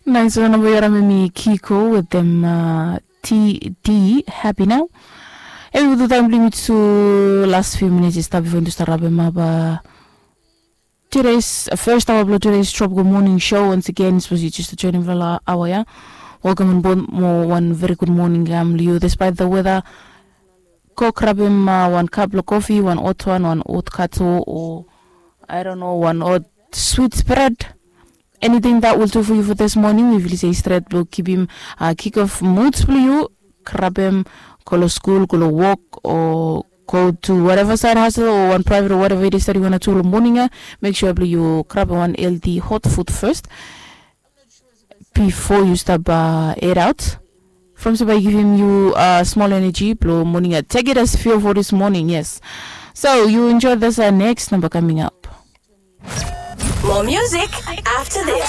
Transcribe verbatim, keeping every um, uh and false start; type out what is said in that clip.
Nais wan namba yu harim em i Kiko wetem uh, T D Happy Now. Em i tu taim bilong mi tu last few minutes i stap before tu start rapem up uh, today's uh, first hour bilong today's Tropical Morning Show. Once again, suppose you just joining for la hour ya. Welcome on board mo one very good morning kam liu despite the weather. Go grab him uh, one cup of coffee, one hot one, one hot kato, or I don't know, one hot sweet bread. Anything that will do for you for this morning, we will say straight blow, keep him uh, kick off moods for you, grab him, go to school, go to work, or go to whatever side hustle or one private or whatever it is that you want to do in the morning. Uh, make sure you grab one healthy hot food first before you start uh, head out. From Sabai giving you uh, small energy, blow morning. Uh, take it as fuel for this morning, yes. So you enjoy this uh, next number coming up. More music after this.